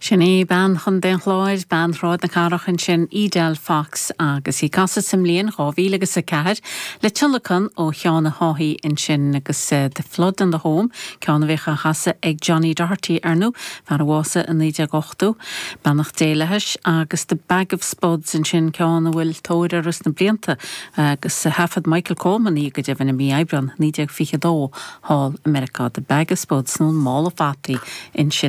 Sin í bean Chontae an Chláir, bean Shráid na Cathrach ansin, Edel Fox, agus í ag casadh sa mbliain 2004 le tionlacan ó Sheán Ó hÁthaigh ansin agus The Flood and the Home, ceann a bhíodh á chasadh ag Johnny Doherty, ar ndóigh, fear a bhásaigh i 1980, beannacht Dé leis, agus The Bag of Spuds ansin, ceann a bhfuil tóir orthu sna blianta agus thaifead Michael Coleman í go deimhin i mí Aibreán 1922 thall i Meiriceá, The Bag of Spuds nó an Mála Fataí ansin.